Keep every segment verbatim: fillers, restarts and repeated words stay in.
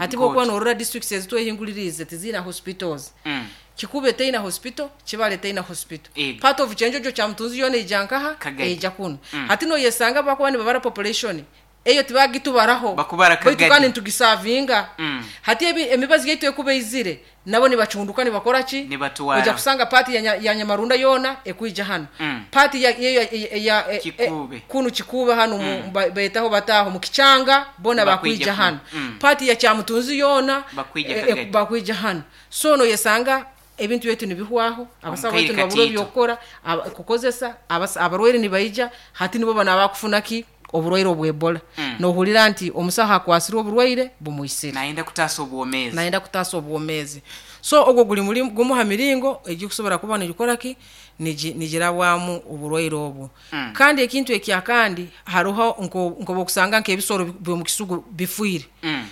Hati bwokuba norora districts ezitwehinguliriize tiziina hospitals. Mm. Kikube teina hospital, Kibale teina hospital. Ego. Part of Kyenjojo, Kyamutunzi yona ija nkaha? Kagadi. Eija kunu. Mm. Hati noyesanga bakuba nibabara population eyo tibagitubaraho. Bakubara baitu Kagadi. kandi nitugisavinga. Mm. Hati ebi emibazi yaitu ekuba eizire, nabo nibacunduka, nibakora ki? Nibatwara. Ojja kusanga part ya, nya- ya Nyamarunda yona ekwija hano. Mm. Part ya, ya, ya, ya, ya Kikuube. e, kunu Kikuube hano, mm. betaho bataho mu Kichanga bona Bakwija bakwija kuno. hano. Mm. Part ya Kyamutunzi yona Bakwija e, e, Kagadi. bakwija hano. So noyesanga ebintu byaitu nibihwaho, abasawo Omukaire baitu nibabura katiito. ebyokukora, aba- kukozesa, abas- abarwaire nibaija. Hati nibo bana bakufuna ki? Oburwaire obwebola. Mm. Nohurira nti omusaho akwasire oburwaire bumwisire. Nayenda kutaasa obwomeezi. Nayenda kutaasa obwomeezi. So ogwo guli mulimu gumu ha miringo egikusobora kuba nigikora ki, nigi- nigirabwamu oburwaire obwo. Mm. Kandi ekintu ekyakandi, hariho nko- nkoba okusanga nk'ebisoro by'omu kisugu bifiire. Mm.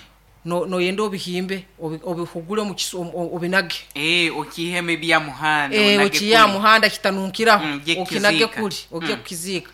No- noyenda obihimbe, obi- obihugule omu kisu- omu- obinage. Eh, okihemu ebyamuhanda. Eh, onage okiya kuli. muhanda kitanunkiraho. Mm, ojye okinage kukiziika. kuli ojye Mm. kukiziika.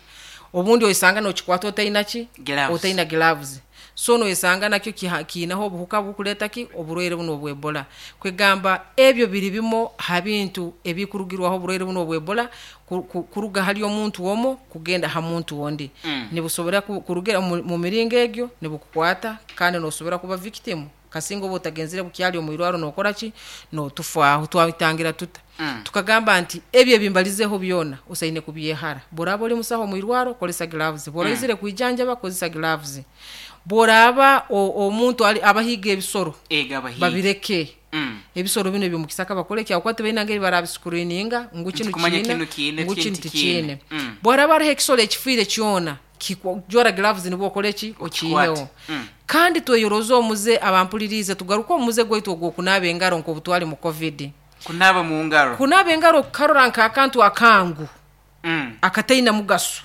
Obundi oyisanga nokikwata otaina ki? Gloves. Otaina gloves. So noyesanga nakyo kiha- kiinaho obuhuka bukuleta ki? Oburwaire buno obwebola. Kwegamba ebyo biri bimo ha bintu ebikurugirwaho oburwaire buno obwebola ku- ku- kuruga hali omuntu omo kugenda ha muntu ondi. Mm. Nibusobora ku- kurugira mu mu miringo egyo nibukukwata, kandi nosobora kuba victim kasinga oba otagenzire bukyali omwirwaro nokora ki, notufaaho. Twabitangira tuta? Mm. Tukagamba nti ebyo ebimbalizeho byona osaine kubyehara. Boraba oli musaho omwirwaro, kolesa gloves. Bworaizire kwijanjaba, kozesa gloves. Bworaba o- omuntu ali abahiga ebisoro, Ega abahiga. babireke. Mm. Ebisoro bino ebyomukisaka bakole kyakuba tibaina ngeri barabiscreeninga ngu kinu Ntikumanya kiina, kinu kiine, ngu kinu kinu tikiine. tikiine. Mm. Bwaraba hariho ekisoro ekifiire kyona, kikwa- jwara gloves nibwo okole ki? Okikwate. Okiiheho. Mm. Kandi tweyoroze omuze, abampulirize, tugaruke omuze gwaitu ogw'okunaaba engaro nk'obutwali mu COVID. Kunaaba mu ngaro. Kunaaba engaro kukarora nk'akantu akangu Mm. akataina mugaso,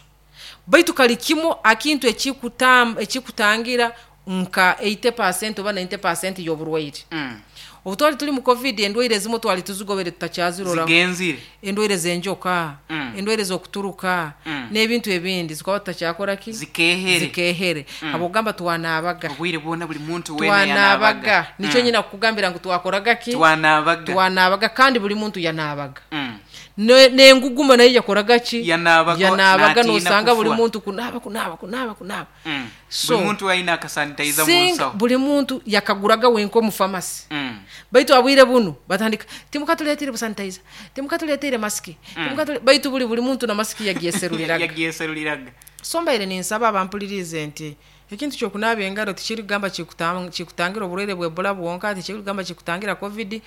baitu kali kimu akintu ekikutam- ekikutangira nka eighty percent oba ninety percent y'oburwaire. Mm. Obu twali tuli mu COVID, endwaire ezimu twali tuzigobere tutakyazirora. Zigenzire. Endwaire z'enjoka, Mm. endwaire z'okuturuka, Mm. n'ebintu ebindi zikaba tutakyakora ki? Zikehere. Zikehere. Habwokugamba twanaabaga. Obwire bwona buli muntu wena Twanaabaga. yanaabaga. Nikyo nyina kukugambira ngu twakoraga ki? Twanaabaga. Twanaabaga, kandi buli muntu yanaabaga. Mm. Ne- n'enguguma nayo yakoraga ki? Yanaabaga, Yanaabaga. n'atiina Nosanga buli kufwa. muntu kunaaba, kunaaba, kunaaba, kunaaba. Mm. So, buli muntu alina akasanitizer mu singa nsawo. Buli muntu yakaguraga wenka omu famasi. Mm. Baitu abwire buno batandika, "Timukatuleetire busanitizer, timukatuleetire masiki, timukatule-" Baitu buli buli muntu na masiki yagyeseruliraga. Yagyeseruliraga. So mbaire ninsaba abampulirize nti ekintu kyokunaaba engaro tikirigamba kikutam- kikutangira oburwaire bwebola bwonka, tikirigamba kikutangira COVID,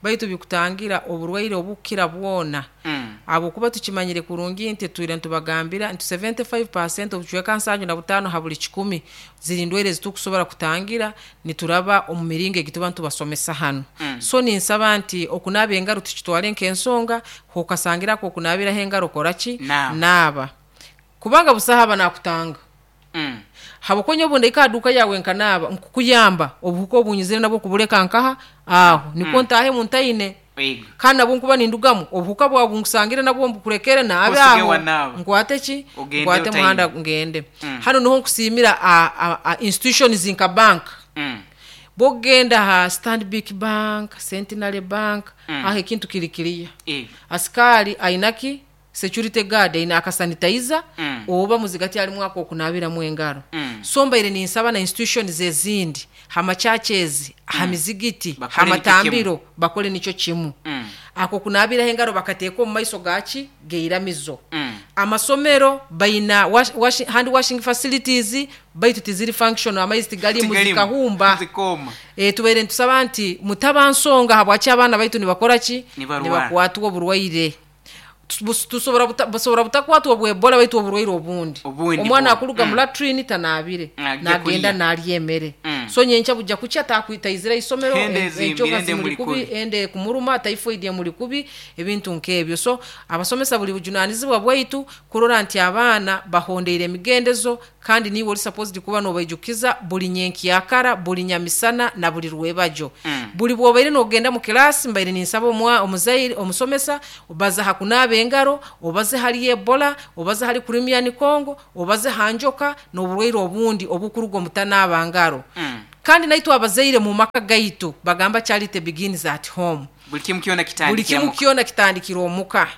baitu bikutangira oburwaire obukira bwona. Mm. Habwokuba tukimanyire kurungi nti twire ntubagambira nti seventy-five percent, obucweka nsanju na butaano ha buli kikumi, ziri ndwaire ezitukusobora kutangira nituraba omu miringo egi tuba ntubasomesa hano. Mm. So ninsaba nti okunaaba engaro tukitwale nk'ensonga. Hokasangirako okunaabiraho engaro, kora ki? Naaba. Naaba, kubanga busaha aba nakutanga. Mm. Habwokuba obu ndaika aduka yawe nkanaaba, nkukuyamba obuhuka obunyizire nabwo kubuleka nkaha aho, nikwo ntahe muntaine. Ego. Kandi nabwo nkuba nindugamu, obuhuka bwawe bunkusangire nabwo mbukurekere naabe Osige aho. wanaaba. Nkwate ki? Ogende Nkwate otaine. muhanda ngende. Mm. Hano niho nkusiimira a, a, a institutions nka bank. Mm. Bwogenda ha Stanbic Bank, Centenary Bank, Mm. aho ekintu kiri kiriya. Ego. Asikari ainaki security guard aina akasanitizer Mm. oba muzigati alimu ako okunaabiramu engaro. Mm. So mbaire ninsaba na institutions ezindi, hama churches, ha mizigiti, Bakole hamatambiro, bakole nikyo kimu. Mm. Ako kunaabiraho engaro bakateeka omu maiso gaki? Geiramizo. Mm. Amasomero baina wash, wash, hand washing facilities, baitu tiziri functional, amaizi tigalimu. Tigalimu. Zikahumba. Zikooma. e, tubaire nitusaba nti mutaba nsonga habwaki abaana baitu nibakora ki? Nibarwara. Nibakwatwa oburwaire. Tus- tusobora buta- busobora butakwatwa obwebola, baitu oburwaire obundi. Obundi Omwana bwo. akuruga mu latrine tanaabire, Ajja nagenda kulya. nalya emere. Mm. So nyenkya bujja kukya takwitaizira isomero, Ende en- ezimbire, enjoka ende zimuli muli kubi, kubi. ende kumuruma, typhoid emuli kubi, ebintu nk'ebyo. So abasomesa, buli bujunanizibwa bwaitu kurora nti abaana bahondeire emigendezo. Kandi niiwe oli supposed kuba nobaijukiza buli nyenkyakara, buli nyamisana na buli rwebajo. Mm. Buli bwobaire nogenda mu kilasi, mbaire ninsaba omwa omuzaire omusomesa obaze ha kunaaba engaro, obaze hali Ebola, obaze hali Crimean Congo, obaze ha njoka n'oburwaire obundi obukuruga omutanaaba ngaro. Mm. Kandi naitwe abazaire mu maka gaitu bagamba charity begins at home. Buli kimu kyona Buli kitandikira kimu muka. kyona kitandikira omuka.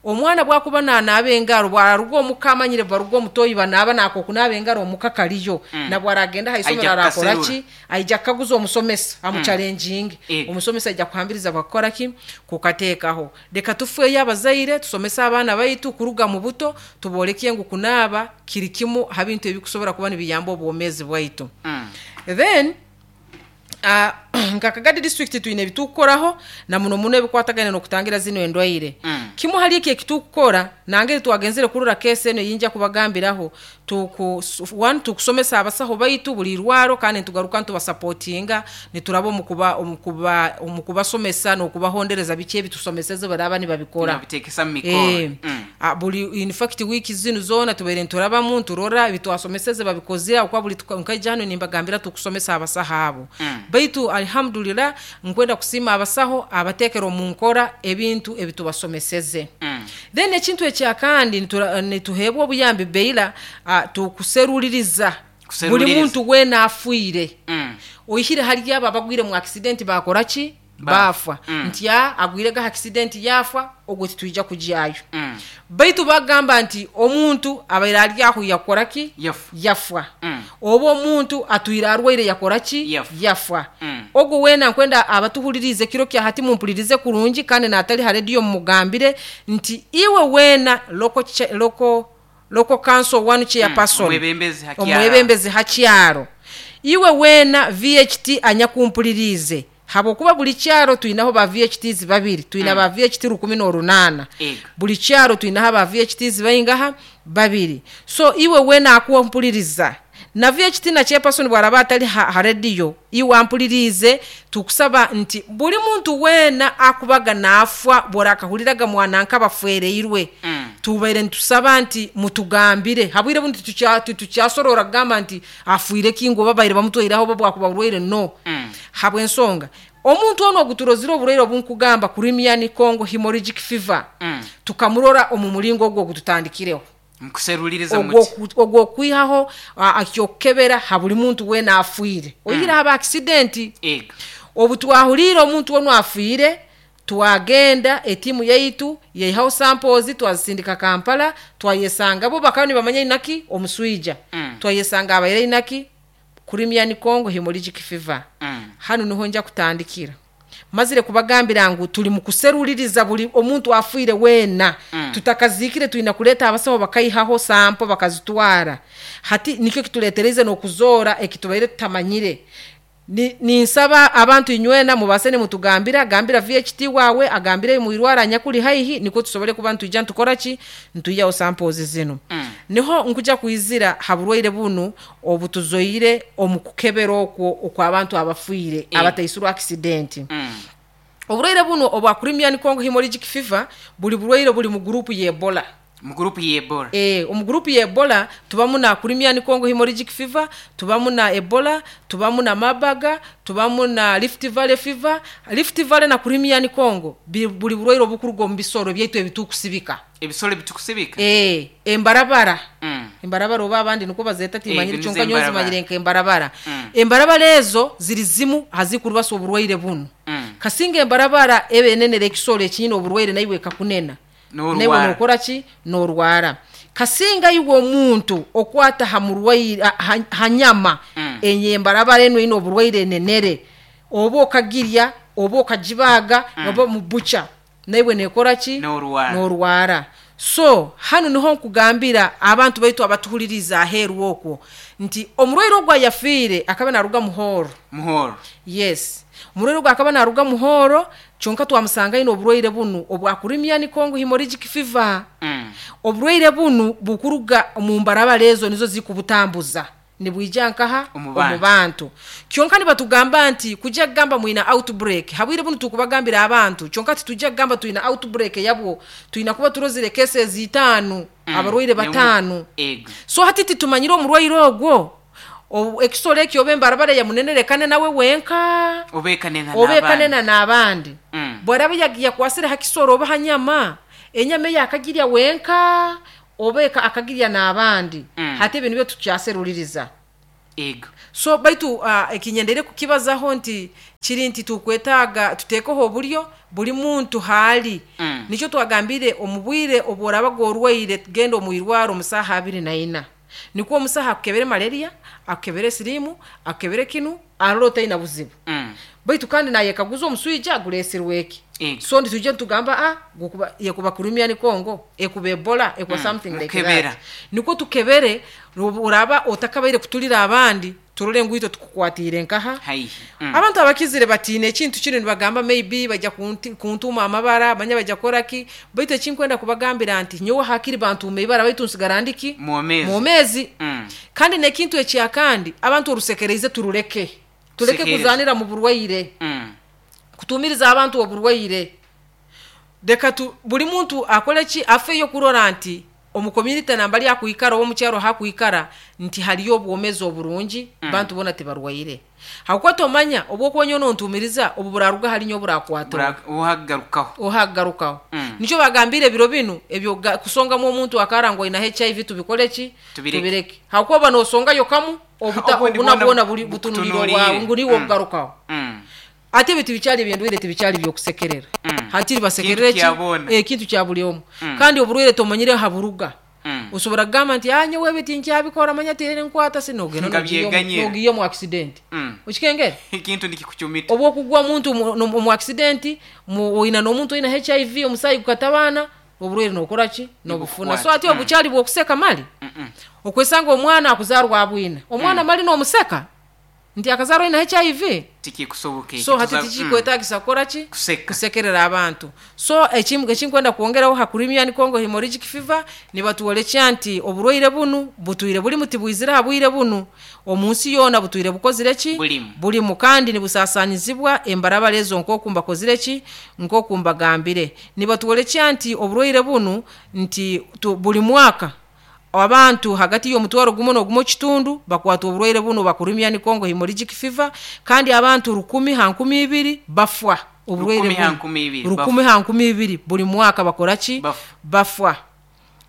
Omwana bwakuba nanaaba engaro, bwararuga omuka amanyire baruga omutoyi banaaba nako kunaaba engaro omuka kaliyo. Mm. Na bwaragenda ha isomero Aija arakora kukaserura. ki? Aija kukaguza omusomesa, amuchallenginge. Ego. Omusomesa aija kuhambiriza bakukora ki? Kukateekaho. Leka tufeeyo abazaire, tusomese abaana baitu kuruga mu buto, tubooleke ngu kunaaba kiri kimu ha bintu ebikusobora kuba nibiyamba obwomeezi bwaitu. Mm. Then uh, nka Kagadi district twine ebitukukoraho na muno muno ebikwatagana n'okutangira zino endwaire. Mm. Kimu hali eki ekitukukora nangeri twagenzere kurora kesi eno eyinja kubagambiraho, tuku, one, tukusomesa abasaho baitu buli irwaro, kandi nitugaruka nitubasapotinga nituraba omukuba, omukuba, omukubasomesa n'okubahondereza biki ebitusomeseze baraba nibabikora. Nibabitekesa mu mikoro. Eh, Mm. ah, buli in fact wiki zinu zona tubaire nturabamu nturora ebitwasomeseze babikozire, okuba buli tuka- nkaija hano nimbagambira tukusomesa abasaho abo. Mm. Baitu alhamdulillah nkwenda kusiima abasaho abatekera omu nkora ebintu ebitubasomeseze. Mm. Then ekintu ekyakandi nitura- nituheebwa obuyambi beila, uh, tukuseruliriza buli Kuseruliriza. muntu weena afiire. Mm. Oihire hali abo abagwire mu accident bakora ki? Bafa. Bafa. Mm. Nti a agwirega accident yafa, ogwo titwija kujyayo. Mm. Baitu bagamba nti omuntu abaire ali aho yakora ki? Yafa. Yafa. Mm. Oba omuntu atwire arwaire yakora ki? Yafa. Yafa. Mm. Ogwo weena nkwenda abatuhulirize kiro kya hati mumpulirize kurungi, kandi natali ha radio mumugambire nti iwe weena local cha-, local, local council one chairperson, Mm. Omwebembezi ha kyaro. omwebembezi ha kyaro, iwe weena V H T anyakumpulirize, habwokuba buli kyaro twinaho ba V H Ts babiri, twina Mm. ba V H T rukumi n'orunaana. Ego. Buli kyaro twinaho ba V H Ts baingaha babiri. So iwe weena akumpuliriza na V H T na chairperson bwaraba atali ha, ha radio, iwe ampulirize, tukusaba nti buli muntu weena akubaga naafwa bworakahuliraga mwana nk'abafwereirwe. Mm. Tubaire nitusaba nti mutugambire habwire buno titucha-, titukyasorora kugamba nti afuire kingo babaire bamutwaireho oba bwakuba burwaire, no. Mm. Habw'ensonga omuntu ono oguturozire oburwaire obunkugamba Crimean Congo hemorrhagic fever, Mm. tukamurora omu muringo ogwo ogututandikireho. Mukuseruliriza Ogwo muti. ku-, ogwo okwihaho, a-, akyokukebera ha buli muntu weena afiire. Oihire haba accident. Ego. Obu twahuriire omuntu ono afiire, twagenda etimu yaitu yaihaho samples twazisindika Kampala, twayesanga bo bakaba nibamanya inaki omuswija. Mm. Twayesanga abaire inaki Crimean Congo hemorrhagic fever. Mm. Hano niho nja kutandikira. Mazire kubagambira ngu tuli mu kuseruliriza buli omuntu afiire weena. Mm. Tutakazikire twina kuleta abasaho bakaihaho sampo bakazitwara. Hati nikyo kituletereze n'okuzora ekitubaire tutamanyire. Ni, ninsaba abantu inywena mubase nimutugambira, gambira V H T wawe agambire muirwara nyakuli haihi, niko tusobole kuba ntujja ntukora ki, ntuyaho samples zino. Mm. Niho nkuja kuizira haburwaire bunu obutuzoire omukukebera okwo okwa abantu abafiire, Eh. abataisirwa accident. Mm. Oburwaire buno obwa Crimean Congo hemorrhagic fever buli burwaire buli mu group ye Ebola. Mu group ye Ebola. Eh, omu group ye Ebola tubamu na Crimean Congo hemorrhagic fever, tubamu na Ebola, tubamu na Marburg, tubamu na Rift Valley fever. Rift Valley na Crimean Congo bi-, buli burwaire obukuruga omu bisoro byaitu ebitukusibika. Ebisoro ebitukusibika? Eh, embarabara. Mm. Embarabara oba abandi niko bazeta timanyire Eh, kyonka nizo nyozi embarabara. manyire nke embarabara. Mm. Embarabara ezo ziri zimu hazikurubasa oburwaire bunu. Mm. Kasinga embarabara ebe enenere ekisoro ekinyina oburwaire naiwe kakunena. N'orwara. Newe nokora ki? N'orwara. Kasinga iwe omuntu okwata ha murwaire, ha, ha, ha nyama, Mm. enye embarabara eno ino oburwaire enenere, oba okagirya, oba okagibaga, Mm. oba mu bucha, naiwe nekora ki? N'orwara. N'orwara. So hano niho nkugambira abantu baitu abatuhuliriza aheeru okwo nti omurwaire ogwo ayafiire akaba naruga Muhoro. Muhoro. Yes. Omurwaire ogwo akaba naruga Muhoro, kyonka twamusanga ino oburwaire bunu obwa Crimean Congo hemorrhagic fever. Mm. Oburwaire bunu bukuruga mu mbarabara ezo nizo zikubutambuza. Nibwija nkaha? Omu Omu bantu. Bantu. Kyonka nibatugamba nti kujja kugamba mwina outbreak habwire bunu, tukubagambira abantu, kyonka titujja kugamba twina outbreak yabwo, twina kuba turozire cases itaano, Mm. abarwaire Nemu- bataano. Ego. So hati titumanyire omurwaire ogwo, Obu- ekisoro ekyo oba embarabara yamunenerekane nawe wenka, obekanena. oba ekanena n'abandi. Mm. Bwaraba ya- yakwasire ha kisoro oba ha nyama, enyama eyo akagirya wenka oba eka- akagirya n'abandi. Mm. Hati ebyo nibyo tukyaseruliriza. Ego. So baitu uh, ekinyendere kukibazaho nti kiri nti tukwetaaga tuteekeho oburyo buli muntu haali. Mm. Nikyo twagambire, omu bwire obworaba gworwaire, genda omu irwaro omu saaha abiri na ina, nikwo omusaha akukebere malaria, akukebere siriimu, akukebere kinu, arora otaina buzibu. Mm. Baitu kandi nayekaguza omuswija guresirwe eki. Ego. So ntitujja nitugamba ah, gukuba yekuba Crimean Congo, ekuba Ebola, ekuba Mm, something like mukebera. that, nikwo tukebere uraba otakabaire kutulira abandi, turole ngu itwe tukukwatiire nkaha. Haihi. Mm. Abantu abakizire batiine ekintu kino, nibagamba maybe bajja kunti- kuntuma amabara, manya bajja kukoraki, baitu ekinkwenda kubagambira nti nyowe hakiri bantuuma ibara, baitu nsigara ndiki? Mwomezi. Mwomezi. Mm. Kandi nekintu ekyakandi, abantu orusekereize turuleke, tuleke Kusekereza. kuzanira mu burwaire, Mm. kutumiriza abantu oburwaire. Reka tu buli muntu akole ki, afeyo kurora nti omu community nambali akwikara oba omukyaro hakwikara nti haliyo obwomezi oburungi, mm. bantu bona tibarwaire, hakuba tomanya obwokuba nontumiriza obu buraruga hali nyo burakwata. Bura- uhagarukaho. Ohagarukaho. Mm. Nikyo bagambire ebiro binu ebyo ga- kusongamu omuntu akara ngo aina H I V, tubikole ki? Tubireke. Tubireke, hakuba nosongayo kamu obuta Obundi obuna bwona bwona buli butunuliro bukutunuliire. bwawe ngu niwe Mm. obugarukaho. Mm. Ate ebyo tibikyali ebyendwaire, tibikyali byokusekerera. Mm. Hakiri basekerere Kintu kya boona. ki? Ekintu kya buli omu. Mm. Kandi oburwaire tomanyire haburuga. Mm. Osobola kugamba nti ah, nyowe ebi tinkyabikora, manya tere nkwata sinogenda Nga byeganyira. nogiya mu accident. Mm. Okikengere? Ekintu nikikucumita. Oba okugwa omuntu mu- no- mu accident, mu- oina n'omuntu oina H I V, omusaayi gukatabaana, oburwaire nokora ki? Nobufuna. So ati Mm. obukyali bwokuseka mali. Mm-mm. Okwesanga omwana akuzarwa abwina omwana mali nomuseka nti akazarwa aina H I V. Tikikusoboka ekyo. So hati Tuza- tikikwetagisa kukora ki? Kuseka. Kusekerera abantu. So ekim- ekinkwenda kwongeraho ha Crimean Congo hemorrhagic fever, nibatuolekya nti oburwaire bunu butwire buli muti bwizire ha bwire bunu omu nsi yoona, butwire bukozire ki? Bulimu. Bulimu, kandi nibusasanyizibwa embarabara ezo nk'oku mbakozire ki, nk'oku mbagambire. Nibatuolekya nti oburwaire bunu nti tu, buli mwaka abantu hagati y'omutwaro gumu n'ogumu kitundu bakwata oburwaire buno ba Crimean Congo hemorrhagic fever, kandi abantu rukumi ha nkumi ibiri bafwa oburwaire Rukumi ha buno. nkumi ibiri. Rukumi ha nkumi ibiri buli mwaka bakora ki? Bafa. Bafwa.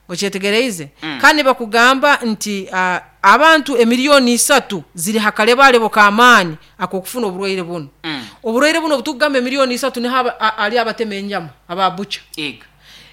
Okyetegereize? Mm. Kandi bakugamba nti uh, abantu emiliyoni isatu ziri hakalebalebo k'amaani ak'okufuna oburwaire buno. Mm. Oburwaire buno obutukugamba emiliyoni isatu, niho aba- a- ali abatema enyama, ababucha, Ego.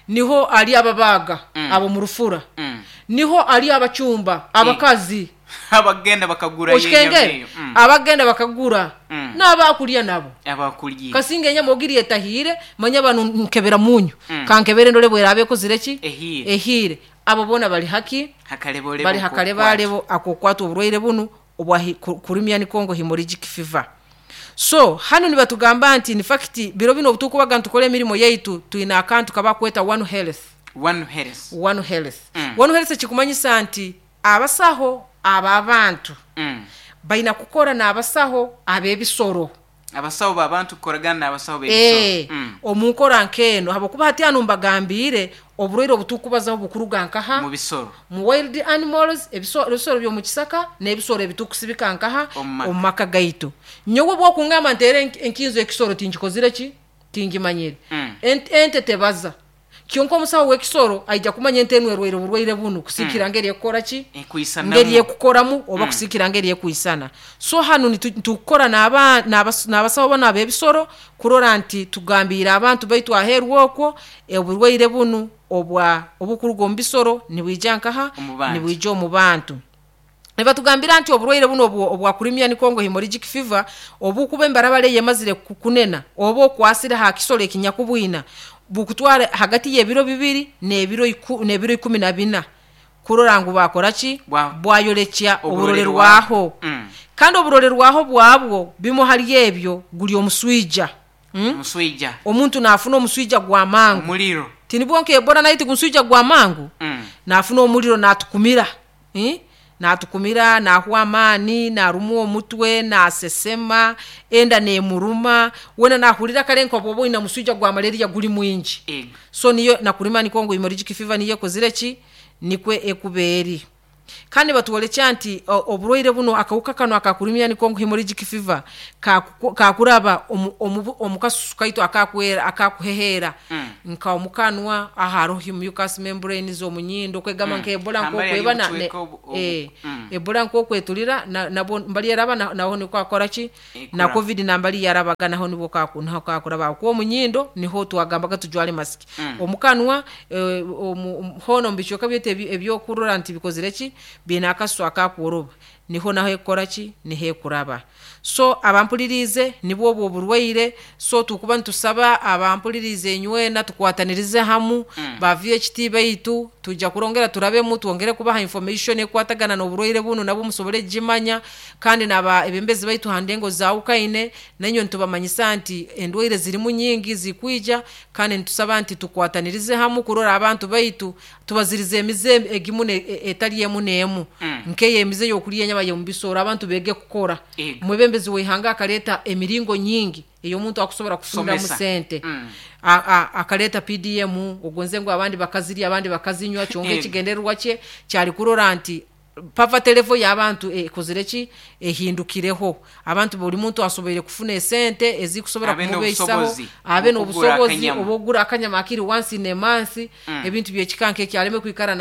niho ali ababaga, Mm. abo mu rufura, Mm. niho ali abacumba abakazi. Abagenda bakagura Okikengere? eyo. Mm. Abagenda bakagura Mm. n'abakulya nabo. Abakulya. Kasinga enyama ogirya etahiire, manya banu nkebera munyu, Mm. kankebere ndole bweraba ekozire ki? Ehiire. Ehiire. Abo bona bali haki? Hakalebolebo. Bali hakalebalebo akokwata oburwaire bunu obwa hi- ku- Crimean Congo hemorrhagic fever. So hano nibatugamba nti in fact biro bino obutukubaga ntukora emirimu yaitu, twina akantu kabakweta One Health. One Health. One Health. Mm. One Health kikumanyisa nti abasaho ababantu Mm. balina kukora n'abasaho ab'ebisoro. Abasawo babantu kukoragana n'abasawo Eh, b'ebisoro. Mm. omu nkora nk'eno, habwokuba hati hano mbagambiire oburwaire obutukubazaho bukuruga nkaha? Mu bisoro. Mu wild animals, ebisoro ebisoro by'omu kisaka n'ebisoro ebitukusibika nkaha? Omu maka. Omu maka gaitu. Nyowe bwokungamba nteere enk- enkinzo ekisoro, tinkikozire ki, tingimanyire. Mm. Ent- ente tebaza, kyonka omusawo w'ekisoro aija kumanya ente enu erwaire oburwaire bunu kusikira ngeri ekukora ki, Ekwisanamu. ngeri ekukoramu oba Mm. kusikira ngeri ekwisana. So hanu nitu- tukukora n'aba- n'abas- n'abasawo bano ab'ebisoro kurora nti tugambiire abantu baitu aheeru okwo oburwaire bunu obwa obukuruga omu bisoro nibwija nkaha? Omu bantu. Nibwija omu bantu. Nibatugambira nti oburwaire buno obwo- obwa Crimean Congo hemorrhagic fever, obukuba embarabara eyo emazire ku- kunena oba okwasire ha kisoro ekinyakubwina, bukutwara hagati y'ebiro bibiri n'ebiro iku- n'ebiro ikumi na bina kurora ngu bakora ki? Bwa- Bwayorekya Oburolerwaho. oburolerwaho. Mm. Kandi oburolerwaho bwabwo, bimu hali ebyo guli omuswija, mm? Omuswija. Omuntu naafuna omuswija gwa mangu. Omuliro. Tinibwo nka Ebola nayo tigumuswija gwa mangu. Mm. Naafuna omuliro, natukumira, eh? Natukumira, nahwa amaani, narumwa omutwe, nasesema, enda nemuruma, wena nahurira kale nka bwoba oyina muswija gwa malaria guli mwingi. Ego. So niyo nakurima niko ngu hemorrhagic fever niyo ekozire ki, nikwe ekuba eri. Kandi batwolekya nti o- oburwaire buno, akawuka kano akakurimya niko ngu hemorrhagic fever kaku- kakuraba omu, omu, omu kasusu kaitu akakwera, akakuheheera. Mm. Nka omukanwa ahariho mucous membranes, omunyindo, kwegamba Mm. nka Ebola Hambali nkokweba na, hariyo ne, obucweka obu- obu- eh, mm. Ebola nkokwetulira na, nabo mbali yaraba na, naho niko akora ki, Ekura. na COVID nambali yarabaga naho nibo kaku, naho kakuraba kuba omunyindo niho twagambaga tujwale mask. Mm. Omukanwa, eh, omu, omu- hono omu bicweka byaitu ebi- ebyokurora nti bikozire ki, biine akasu akakworoba, niho naho ekukora ki, niho ekuraba. So abampuliriize nibwo obwo oburwaire. So tukuba nitusaba abampuliriize enywena tukwatanirize hamu. Mm. Ba V H T baitu tujja kurongera turabemu, twongere kubaha information ekwatagana n'oburwaire bunu, nabo musobole kugimanya. Kandi naba ebembezi baitu ha ndengo zawukaine, nainywe nitubamanyisa nti endwaire zirimu nyingi zikwija, kandi nitusaba nti tukwatanirize hamu kurora abantu baitu tubazirize emize egimu ne- e- etali emu n'emu. Mm. Nkeyo emize y'okulya enyama y'omubisoro, abantu bege kukora. Ego. Mwebembezi w'ihanga akaleta emiringo nyingi ey'omuntu akusobora kufuniramu Somesa. sente. Mm. A- a- akaleta P D M, ogonze ngu abandi bakazirya, abandi bakazinywa, kyonka Ego. ekigendererwa kye kyali kurora nti poverty level y'abantu ekozire ki, ehindukireho. Abantu buli muntu asoboire kufuna esente ezikusobora Abe kumubeisaho, n'obusobozi abe obw'okugura n'obusobozi akanyama. obw'okugura akanyama akiri once in a month. Mm. Ebintu byekika nk'ekyo, aleme kwikara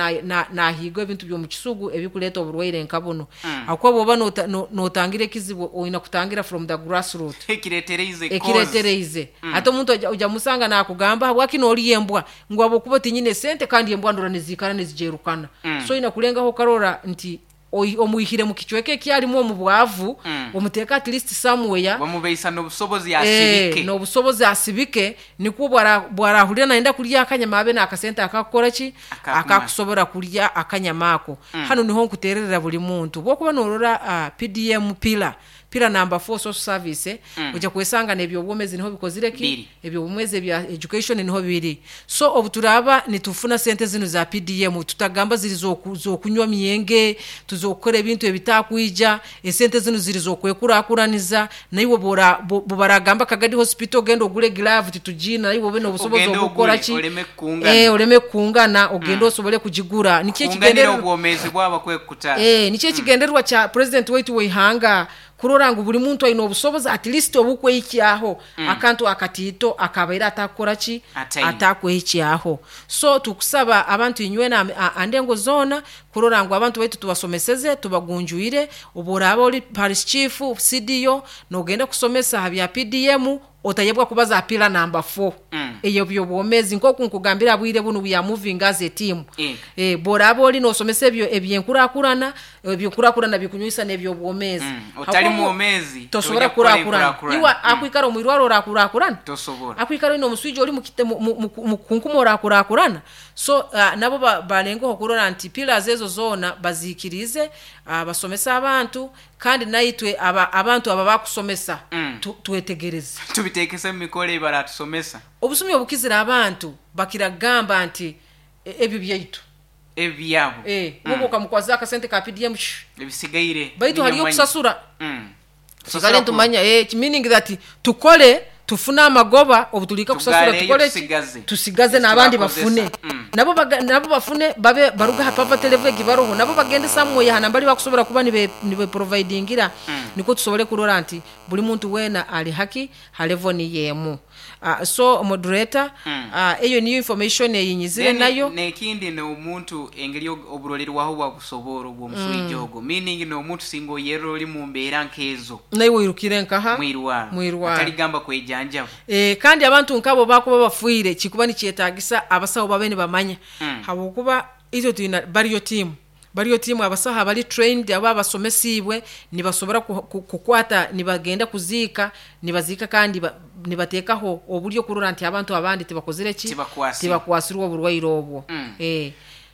nahiigwa ebintu by'omu kisugu ebikuleeta oburwaire nka buno. Mm. Akuba bwoba nota- no- notangira ekizibu, oyina kutangira from the grassroot. Ekiretereize cause. Ekiretereize. Ate omuntu oja- oja musanga nakugamba, habwaki noolya embwa, ngu habwokuba tinyine sente, kandi embwa ndora nizikara nizijerukana. Mm. So oyina kulengaho okarora nti oi- omwihire mu kicweka ekyalimu omu bwavu, Mm. omuteeka at least somewhere. Bamubeisa n'obusobozi Eh, asibike. N'obusobozi asibike, nikwo bwara- bwarahurira nayenda kulya akanyama abe n'akasente akakukora ki, Akakumara. akakusobora kulya akanyama ako. Mm. Hano niho nkutererera buli muntu, bwokuba norora uh, P D M pillar pillar number four, social service, Mm. ojja kwesanga n'ebyobwomezi niho bikozire ki, Biri. ebyobwomezi ebya education niho biri. So obu turaba nitufuna sente zino za P D M, tutagamba ziri zoku- zokunywa myenge, tuzokukora ebintu ebitakwija. Esente zino ziri zokwekurakuraniza. Naiwe bora bo- bobaragamba Kagadi Hospital, ogenda ogule glove, titugina, naiwe obe n'obusobozi Ogende obukora ogule, ki, oleme kukungana. eh, oleme kukungana, ogende osobole kugigura. Nikyo kunganira ekigendererwa obwomezi bwabo kwekuta. Eh, nikyo ekigendererwa kya president waitu weihanga, kurora ngu buli muntu aine obusobozi at least obukwehikyaho mm. akantu akatiito akabaire atakukora ki, Ataine. atakwehikyaho. So tukusaba abantu inywena a- andengo zoona kurora ngu abantu baitu tubasomeseze, tubagunjuire. Obu oraaba oli parish chief, C D O, nogenda kusomesa ha bya P D M, otayebwa kubaza pillar number four Mm. eyo byobwomezi. Nkoku nkugambira, bwire bunu we are moving as a team. Eh. Eh, boraba oli nosomesa ebyo ebyenkurakurana, ebyenkurakurana bikunywisa n'ebyobwomezi. Mm. Otali Hakuba mwomezi tosobora tojja kukora kurakurana. enkurakurana. Iwe akwikara omwirwaro orakurakurana? Tosobora. Akwikara oyina omuswija oli mukite- mu- mu- mu- mu kunkuma, orakurakurana? So uh, nabo ba- balengeho kurora nti pillars ezo zoona baziikirize, uh, basomese abantu, kandi naitwe aba, abantu aba bakusomesa Mm. tu, twetegereze, tubitekese mu mikolo ebaratusomesa. Obusumi obukizira abantu bakiragamba nti e- ebyo byaitu. Ebyabo. Eh, mm. Okamukwaza akasente ka P D M, shh, ebisigaire baitu haliyo ninyamanya. okusasura. Mm. Tusigale ntumanya, eh, meaning that tukole tufune amagoba, obu tulika kusasura Tugaleyo, tukole ki? tusigaze. Tusigaze n'abandi Tubakozesa. bafune. Mm. Nabo baga- nabo bafune, babe baruga ha poverty level egibaroho, nabo bagende somewhere hana mbali bakusobora kuba nibe nibe providingira, niko tusobole kurora nti buli muntu wena ali haki ha level niyemu. uh, so moderator, Mm. uh, eyo niyo information eyinyizire Then, nayo. Nekindi n'omuntu engeri og- oburolerwaho bwabusobora obw'omuswija ogwo, meaning n'omuntu singa oyerera oli mu mbeera nk'ezo, naiwe oirukire nkaha? Mwirwaro. Mwirwaro. Ataligamba kwejanjaba. E, kandi abantu nkabo bakuba bafuire, kikuba nikyetagisa abasawo babe nibamanya, Mm. habwokuba itwe twina bariyo team bariyo team abasaho abali trained, aba abasomesiibwe, nibasobora ku- ku- kukwata, nibagenda kuziika, nibaziika, kandi ba- nibateekaho oburyo kurora nti abantu abandi tibakozire ki, Tibakwasirwe. Tibakwasirwe oburwaire obwo. Mm. Eh.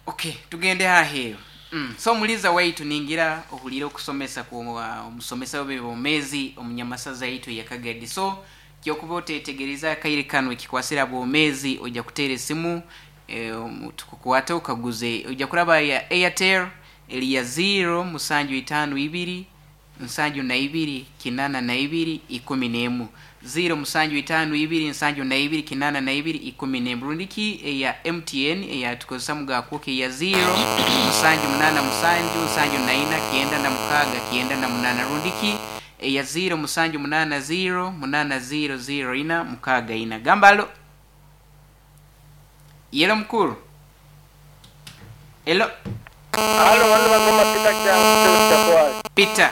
Okay, tugende haheeru. mm. so omuliza waitu, ningira ohulire okusomesa ku uh, omusomesa w'ebyobwomezi omunyamasaza yaitu eyakagadi. So kyokuba otetegereza akaire kano ekikwasira bwomezi, ojja kuteera esimu, eh, omu- tukukwate okaguze. Ojja kuraba ya Airtel. Eliya ziro musanju itaano ibiri nsanju na ibiri kinana na ibiri ikumi n'emu, ziro musanju itaano ibiri nsanju na ibiri kinana na ibiri ikumi n'emu. Rundiki eya M T N eyatukozesa mugakuka eya ziro musanju munana musanju nsanju na ina kyenda na mukaaga kyenda na munana, rundiki eya ziro musanju munana ziro munana ziro ziro ina mukaaga ina. Gambalo yelo mukuru elo. Halo, wano bagoma Peter kya Peter.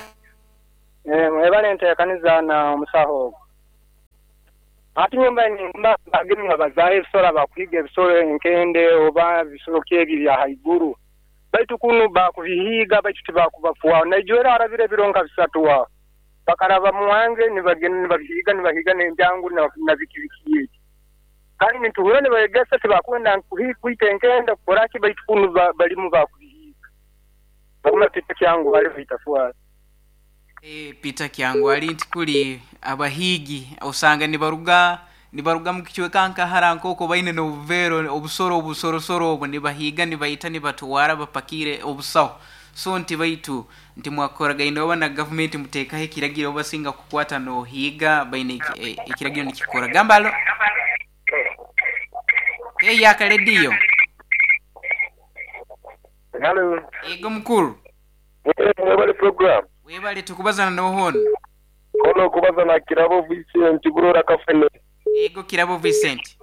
Eh, mwebale nteekaniza na omusaho ogwo. Ati nyumba mba bageni nga bazaala ebisolo, bakuhiga ebisolo enkende oba bisolo ki ebyo bya haiguru. Baitu kunu bakubihiga, baitu tibakubafuwa. Naijwera arabire ebiro nka bisatu aho. Bakaraba muwange nibagenda nibabihiga, nibahiga n'enjangu na, na bikibiki eki. Kandi nituhura nibayegesa tibakwenda kwita enkende kukoraki, baitu kunu ba, balimu bakubihiga. Baguma Peter Kyangu bali baitafuwa. E, Peter Kyangu ali nti kuli abahigi osanga nibaruga nibaruga mu kichweka nkahara nkoko baine n'obuvero obusoro obusorosoro obwo, nibahiga, nibaita, nibatwara bapakire obusaho. So nti baitu nti mwakoragaine oba na gavumenti muteekaho ekiragiro obasinga kukwata nohiga baine eki- e- ekiragiro nikikora. Gambalo eyaka rediyo. Halo. Ego mukuru. Mwebale program. Webale, tukubazana nohono? Kono kubaza na Kirabo Vincent Burora Kafene. Ego Kirabo Vincent.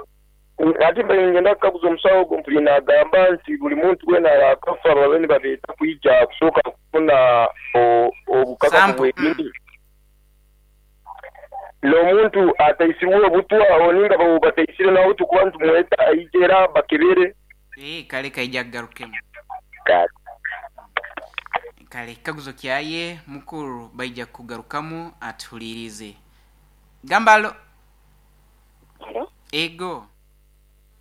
Ati mbe ngenda kukaguza omusawo ogwo, mpuli nagamba nti buli muntu wena akafa babe nibabeeta kwija kusooka kufuna o- obukakafu Sample. bwenyini n'omuntu ataisirwe obutwa aho ninga babo bataisire nawe tukuba nitumweta aije era bakebere. Eh, kale kaija kugarukemu. Kale. Kale kikaguzo kyaye mukuru baija kugarukamu atuhulirize. Gambalo. Halo, ego.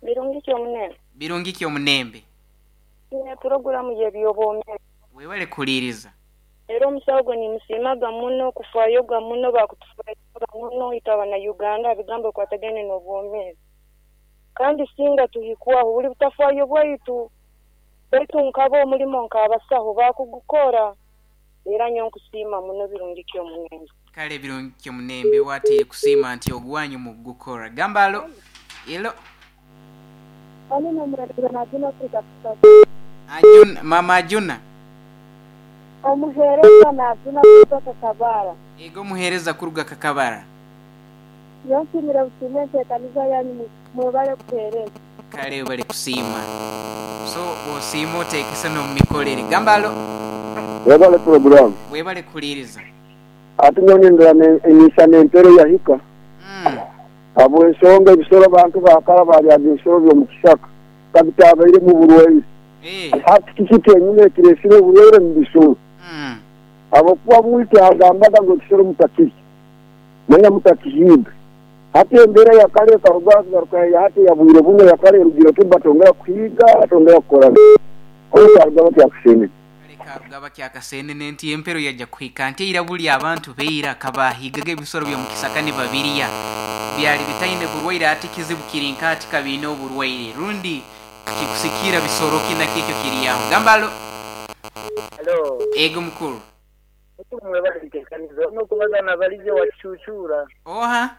Birungi kyomunene. Birungi kyomunembe. Ine puroguramu y'ebyobwomeezi. Webale kuhuliriza. Era omusawo gwe nimusiimaga muno, kufaayoga muno, bakutufayoga muno itwe abana Uganda bigambo bikwatagaine n'obwomeezi. Kandi singa tuhikwaho buli butafaayo bwaitu, baitu nkaba omulimo nk'abasaho bakugukora. Era nyo nkusiima muno, birungi kyomunembe. Kale birungi kyomunembe wateye kusiima nti ogwanyu mugukora. Gambalo elo. Ani nomuhereza Najuna Afrika. Ajuna, mama Ajuna. Omuheereza Najuna kutoka Kabara. Ego muhereza kuruga Kakabara. Yonsimira busiime enteekaniza yanyu, mwebale kuheereza. Kale bali kusiima, so bwosiima oteekese n'omumikolere. Gambalo. Webale program. Webale kuhuliriza. Ati nyonindira enyisana empero yahika. mm. Habwensonga ebisoro abantu bakara baryaga ebisoro by'omu kisaka kabitabaire mu burwaire. Eh. Hati kiki kyenyine ekiresire oburwaire mu bisoro? Mm. Habwokuba bwite agambaga ngu ekisoro mutakirya, manya mutakihiga. Hati embeera yakare ekaruga garuka ya hati ya bwire buno, yakare erugire ki batongera kuhiga, batongera kukora oyo batyakusenene. Kale karugaba kyakasenene nti empero yajja kuhika nti eira buli abantu beira kabahigaga ebisoro by'omukisaka nibabirya byali bitaine burwaire. Ati kizibu kiri nkati kabiine oburwaire rundi kikusikira bisoro kina kikyo kiri aho. Gambalo. Halo. Ego mukuru. Mwebale nteekaniza. Ono kubaza na Balije wa Kichuchura. Oha?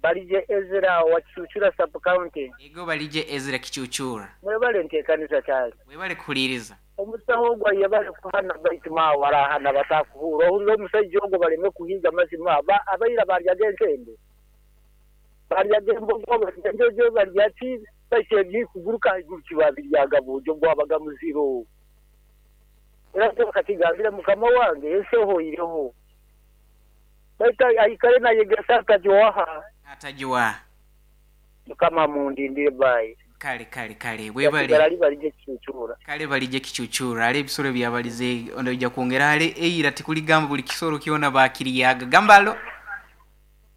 Balije Ezra wa Kichuchura sub county. Ego Balije Ezra Kichuchura. Mwebale nteekaniza kyali. Webale kuhuliriza. Omusawo ogwo yebale kuhana, baitu ma warahana batakuhura. Ohurira omusajja ogwo baleme kuhiga mazima. Aba abaira baryaga enkende. Baryaga embogo, barya enjojo, barya ki, baitu ebyikuguruka haiguru kibabiryaga bujo bwabaga muziro. Era katigambire mukama wange ensi ehoireho. Baitu aikare nayegesa atagiwaha. Atagiwa. Mukama mundindire, bayi. Kale kale kale. Yasigala Webale. ali Balije Kichuchura. Kale Balije Kichuchura ale ebisoro byabalize onojja kwongera ale eira tikuligamba buli kisoro kyona bakiriyaga. Gambalo.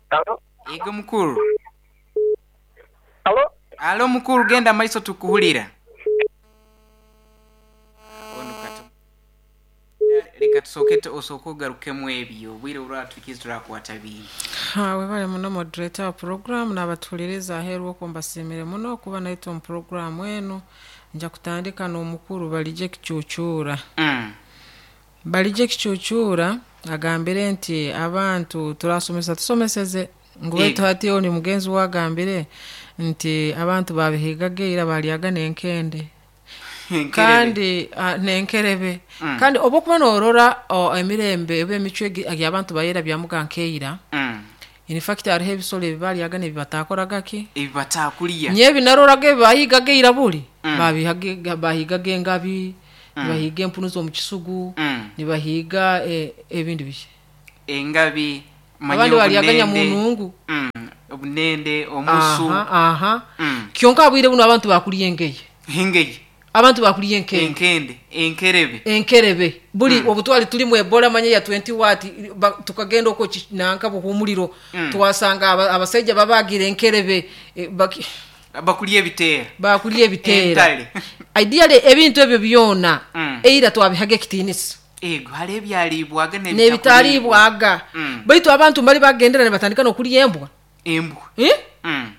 Alo? Ego mukuru. Alo? Alo mukuru, genda maiso tukuhulira. Ono kata leka tusooke tu- osooke ogarukemu ebyo obwire olwatukizi turakwata bingi. Ha, webale muno moderator wa program n'abatuhuliriza aheeru okwo, mbasiimire muno okuba naitwe omu program enu. Nja kutandika n'omukuru Balije Kicucura. Mm. Balije Kicucura agambire nti abantu turasomesa tusomeseze ngu baitu Yego. hati oni mugenzi we agambire nti abantu babihigaga ira balyaga n'enkende. Enkerebe. Kandi ah, n'enkerebe. Mm. Kandi oba okuba noorora o, emirembe oba emicwe egi- egi abantu bayera byamuga nkeira, Mm. in fact hariho ebisolo ebi balyaga nebi batakoraga ki Ebi batakulya. nyebi naroraga ebi bahigaga ira buli. Mm. Babihaga- bahigaga engabi, nibahiga empunu z'omu kisugu, Mm. nibahiga eh, ebindi biki. Engabi, manye Abandi balyaga obunende. nyamunungu. Mm. Obunende, omusu. Aha, aha. Mm. Kyonka abwire buno abantu bakulya engeye, Engeye. abantu bakulya enkende, Enkende, enkerebe. Enkerebe buli. mm. Obutwali tulimu ebola manye ya twenty watt ba, tukagenda okwo ki- nanka buhumuliro, Mm. twasanga aba- abasaija babagira enkerebe, e, baki, Bakulya ebiteera. Bakulya ebiteera. Entale. Ideally ebintu ebyo byona Mm. eira twabihaga ekitiinisa. Ego, hariho ebyaliibwaga n'ebitaliibwaga. Mm. Baitu abantu bali bagendera nibatandika n'okulya embwa. Embwa. Eh? Mm.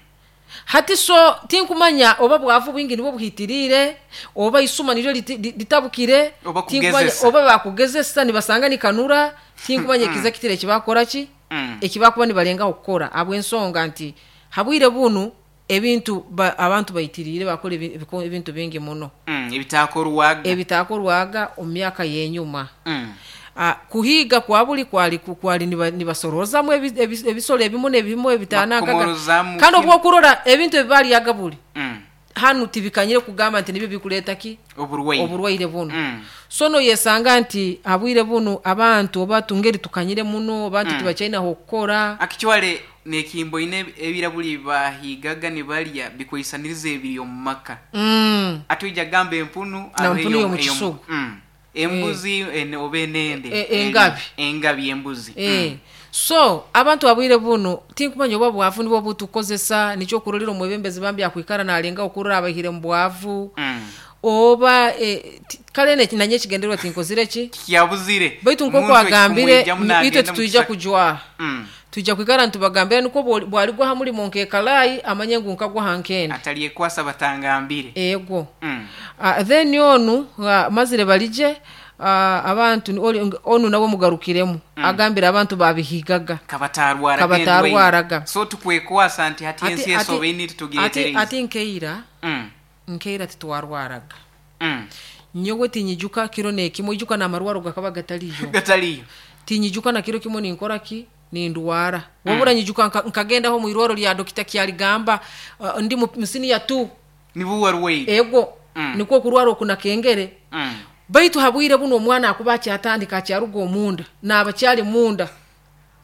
Hati so tinkumanya oba bwavu bwingi nibwo buhitirire oba isuma niryo liti- li- litabukire. Oba Tinkumanya- kugezesa. Oba bakugezesa nibasanga nikanura, tinkumanya ekiza kitire ekibakora ki, Mm. ekibakuba nibalengaho kukora, habw'ensonga nti habwire bunu ebintu ba, abantu baitirire bakora ebi- ebiko- ebintu bingi muno. Mm. Ebitakorwaga. Ebitakorwaga omu myaka y'enyuma. Mm. Ah, kuhiga kwa buli kwali kwali niba- nibasorozamu ebi- ebi- ebisolo ebimu n'ebimu ebitanankaga. Bakomorozamu. Kandi kinu. obwokurora ebintu ebibalyaga buli Mm. hanu tibikanyire kugamba nti nibyo bikuleta ki Oburwaire. Oburwaire bunu. Mm. So noyesanga nti habwire bunu abantu oba tungeri tukanyire muno abantu Mm. tibakyainaho okukora. Akichwale nekimbo ine ebirabuli bahigaga nibalya bikwisaniriza ebiri omu maka. mm. Atuija gamba empunu Na aho mpunu eyo- y'omu eyo- kisugu. Mm. Embuzi ene- oba enende. E- engabi. Engabi embuzi. Eh. So abantu abwire buno tinkumanya oba bwavu nibwo butukozesa, nikyo okurolera omwebembezi bambi akwikara nalenga okurora abahire mu bwavu, Mm. oba eh, ti- kale ne- nanye ekigendererwa tinkozire ki. Kyabuzire. Baitu Omuntu nk'oku agambire ekikumwijamu itwe nagenda mu titwija kisaka. kujwaha. Mm. Twija kwikara nitubagambira nikwo bwoli- bwaligwa ha mulimo nkekalayi amanye ngu nkagwa ha nkende. Atalyekwasa batangambire. Ego. Mm. Uh, then onu uh, mazire balije uh, abantu ni- oli- onu nawe mugarukiremu. mm. Agambira abantu babihigaga kabatarwaraga. Kabatarwaraga. Endwaire. So tukwekwasa nti hati Ati- ensi ati- esobeine ati, titugiretereza. ati nkeira Mm. nkeira titwarwaraga. Mm. Nyowe tinyijuka kiro nekimwe, ijuka n'amarwaro gakaba gataliyo. Gataliyo. Tinyijuka na kiro kimwe ninkora ki nindwara wabura. Nyijuka nka- nkagendaho mu irwaro lya dokita Kyaligamba, uh, ndi mu musini ya tu. Nibo warwaire. Ego. Mm. Nikwo kurwara okunakengere. Mm. Baitu habwire buno omwana akuba akyatandika akyaruga omunda naaba kyali munda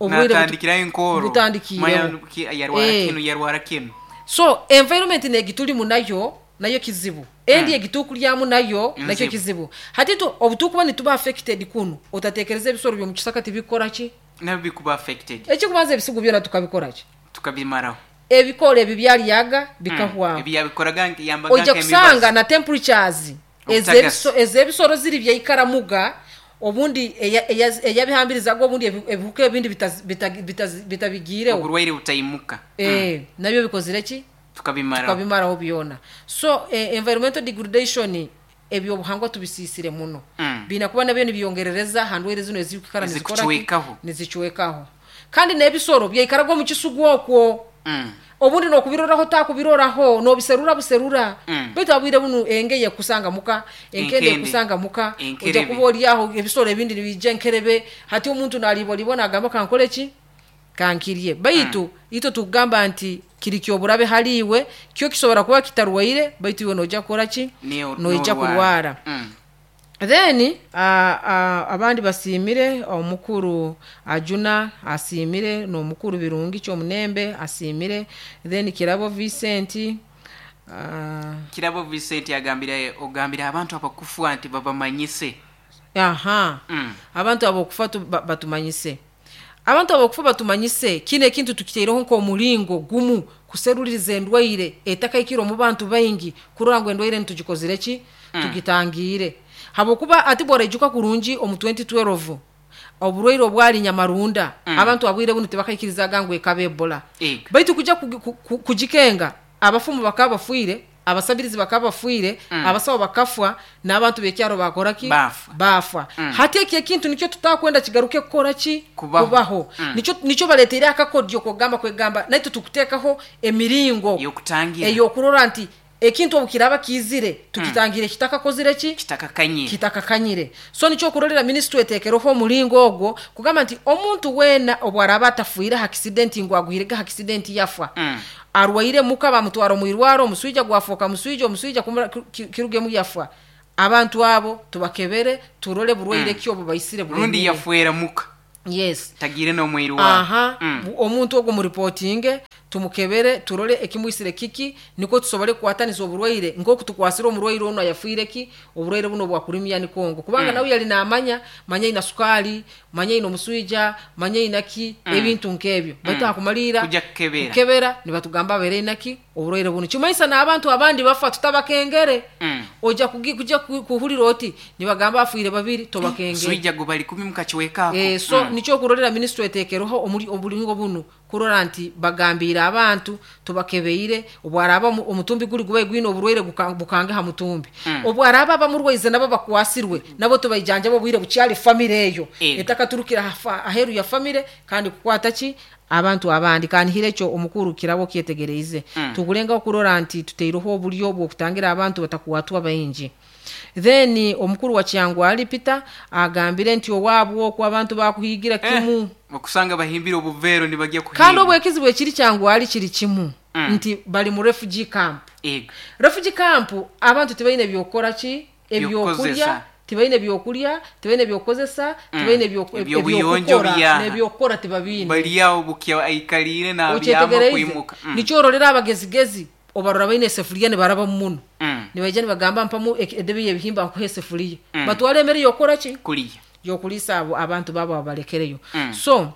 obwire butu- Natandikirayo enkoro. Butandikireho. Manya ki- yarwara Eh. kinu, yarwara kinu. So environment negitulimu nayo nayo kizibu, endi egitukulyamu nayo nakyo Nzibu. kizibu. Hati tu obutukuba nituba affected kuno, otatekereza ebisoro byomukisaka tibikora ki. Nabyo bikuba affected. Ekikubanza ebisigu byona tukabikora ki? Tukabimaraho. Ebikoola ebi byalyaga bikahwaho. Mm. Ebyabikoraga yambaga. Ojja kusanga na temperatures Obutagasi. ez'ebiso- ez'ebisoro ziri byaikaramuga obundi eya- eya- eyabihambirizaga obundi ebi- ebihuka ebindi bitazi- bita- bitazi- bitabigiireho. Oburwaire butayimuka. Eh, nabyo bikozire ki? Tukabimaraho. Tukabimaraho byona. So eh, environmental degradation, ebyobuhangwa tubisiisire muno. Mm. Biina kuba nabyo nibyongerereza ha ndwaire zino ezikikara nizikora ki? Ezikucwekaho. Nizicwekaho. Kandi n'ebisoro byaikaraga omu kisugu okwo, Mm. obundi nokubiroraho takubiroraho nobiserura buserura. Mm. Baitu abwire bunu engeye ekusanga muka, enkende Enkende. ekusanga muka. Enkerebe. Ojja kuba oliaho ebisoro ebindi nibijja enkerebe. Hati omuntu nalibolibwa nagamba kankole ki, kankirye. Baitu mm. itwe tukugamba nti kiri kyoburabe haliiwe, kyo kisobora kuba kitarwaire, baitu iwe nojja kukora ki? Niyo- Noija norwara. kurwara. Mm. Then uh, uh, abandi basiimire omukuru Ajuna asiimire, n'omukuru Birungi Kyomunembe asiimire, then Kirabo Vincent uh, Kirabo Vincent agambire ogambire abantu abakufa nti babamanyise. Aha. Mm. Abantu abokufa tu- ba- batumanyise, abantu abokufa batumanyise. Kino ekintu tukiteireho nk'omulingo gumu kuseruliriza endwaire etakaikire omu bantu baingi, kurora ngu endwaire nitugikozire ki, tugitangiire. Habwokuba ati bworaijuka kurungi omu twenty twelve oburwaire obwali nyamarunda, Mm. abantu abwire bunu tibakaikirizaga ngu ekaba ebola. Ego. Baitu kuja kugi- ku- ku- kugikenga abafumu bakaba bafiire, Abasabirizi bakaba bafiire, Mm. abasawo bakafwa, n'abantu b'ekyaro bakora ki? Bafa. Bafa. Mm. Hati eki ekintu nikyo tutakwenda kigaruke kukora ki? Kubaho. Kubaho. Mm. Nikyo nikyo baleteire akakodyo kugamba kwegamba naitwe tukuteekaho emiringo Y'okutangira. Ey'okurora nti ekintu obu kiraba kiizire tukitangire kitakakozire ki? Kitakakanyire. Kitakakanyire. So nikyo okurorera minisitule eteekereho omuringo ogwo kugamba nti omuntu weena obu araba atafiire ha accident, ngu agwirege ha accident yafa, Mm. arwaire muka bamutwara omu irwaro, omuswija gwafuuka muswija, omuswija kumura- ki- kirugemu yafa, abantu abo tubakebere turole burwaire Mm. ki obu baisire Rundi buremire. Yafuera muka. Yes. Tagire n'omwiru wa. Aha. Mm. Bu- omuntu ogwo muripotinge, tumukebere, turole ekimwisire kiki, niko tusobole kukwataniza oburwaire nk'oku tukwasire omurwaire ono ayafiire ki oburwaire buno bwakurimya nikongo, kubanga Mm. nawe yali namanya, manya ina sukali, manya ina omuswija, manya ina ki, Mm. ebintu nk'ebyo, baitu Mm. hakumalira Kujja kukebera. Kukebera nibatugamba abeere inaki oburwaire buno, kimaisa n'abantu abandi bafa tutabakengere. Mm. Ojja kugi- kujja ku- kuhulira oti nibagamba afiire babiri, tobakengere. Swija gwe bali kumi mukakiwekaako. Eh, so Mm. nikyo okurorera minisitule eteekereho omuri- oburingo bunu kurora nti bagambiire abantu tubakebeire, obwaraba omu- omutumbi guri gubaye gwine oburwaire guka- bukange ha mutumbi. Mm. Obwaraba abamurwaize nabo bakwasirwe, nabo tubaijanjaba obwire bukyali, famire eyo Ego. etakaturukira hafa- aheru ya famire kandi kukwata ki abantu abandi. Kanihire ekyo omukuru kirabo kyetegereize. Mm. Tugulengaho kurora nti tuteireho oburyo bw'okutangira abantu batakwatwa baingi. Then omukuru wa Kyangwali Peter agambire nti owaabwe okwo abantu bakuhigira kimu. Eh, okusanga bahimbire obuveero nibajya kuhiga. Kandi obwekizibu ekiri Kyangwali kiri kimu, Mm. nti bali mu refugee camp. Ego. Refugee camp abantu tibaine byokora ki, ebyokulya. Ebyokukozesa. Tibaine byokulya, tibaine byokukozesa, tibaine ebyo- Ebyobuyonjo ebyokukora, byaha. n'ebyokukora tibabiine. Bali awo bukya aikaliire nabyama Okyetegereize? kwimuka. Mm. Nikyo ororera abagezigezi obarora baine esefuriya nibaraba muno, Mm. nibaija nibagamba mpamu ek- edebe y'ebihimba nkuha esefuriya, Mm. batwara emere yokora ki? Kuliya. Yokulisa abo abantu babo babalekereyo. Mm. So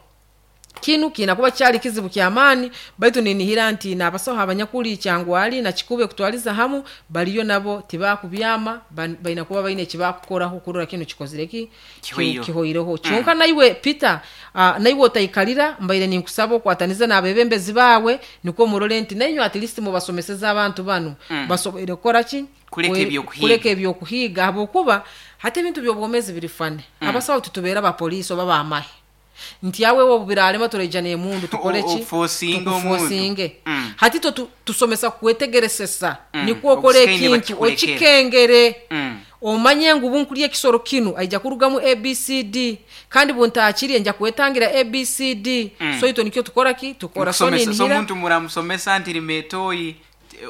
kinu kiina kuba kyali kizibu kyamaani, baitu ninihira nti n'abasaho abanyakuli Kyangwali nakikube kutwaliza hamu baliyo nabo tibakubyama, ban- baina kuba baine ekibakukoraho kurora kinu kikozire ki? Kihoireho. Kihoireho. Kyonka naiwe Peter, uh, naiwe otaikalira, mbaire ninkusaba okwataniza n'abebembezi baawe, nikwo murole nti nainywe at least mubasomeseza abantu banu Mm. basoboire kukora ki? Kuleka Kwe- ebyokuhiga. Kuleka ebyokuhiga, habwokuba hati ebintu by'obwomezi biri fane. Mm. Abasawo titubeera bapoliisi oba bamahe nti awe obu biralema turaija n'emundu tukole ki? O- ofosinge omuntu. Tukufosinge. Mm. Hati to tu- tusomesa kwetegeresesa, Mm. nikwo okora Obusikaine ekintu bakikulekera. okikengere, Mm. omanye ngu bunkulya ekisoro kinu aija kurugamu A B C D, kandi buntakirye nja kwetangira A B C D. Mm. So itwe nikyo tukora ki? Tukora. So Mukusomesa. So ninihira omuntu muramusomesa nti rima etoyi,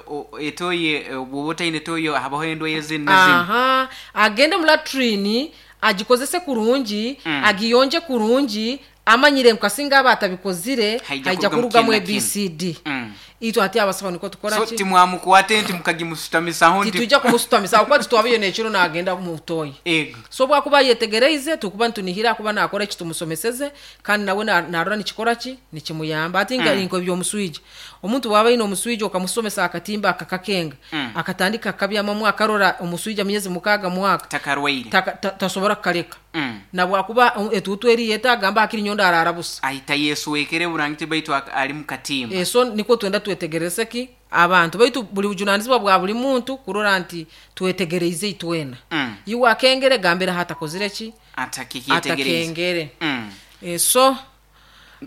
o- etoyi, eh, bw'oba otaine etoyi habaho endwaire zinu na zinu. Aha, agende mu latrini agikozese kurungi, Mm. agiyonje kurungi, amanyire nkasinga aba atabikozire Haija haija kurugamu kurugamu kinu na kinu. A B C D. Mm. Itwe ati abasaho niko tukora So ki? timwamukwate nti mukagimusutamisaho nti Titujja kumusutamisa akuba titwabiyo nekiro nagenda mutoyi. Ego. So bwakuba yetegereize, tukuba nitunihira akuba nakora eki tumusomeseze, kandi nawe na- narora nikikora ki, nikimuyamba. Ati nga Mm. nko ebyomuswija, omuntu bwaba aine omuswija okamusomesa akatimba akakakenga, Mm. akatandika akabyamamu, akarora omuswija myezi mukaaga, mwaka, Takarwaire. taka- ta- tasobora kukaleka. Mm. Nabwakuba um, etuutu eriyeta agamba akiri nyondo arara busa. Ahita yesuwekere burangiti baitu ak- ali mukatimba. Eh, so nikwo twenda twetegereze ki abantu baitu, buli bujunanizibwa bwa buli muntu kurora nti twetegereize itwena. Mm. Iwe akengere, gambira hatakozire ki? Atakikyetegereza. Atakengere. Mm. Eh, so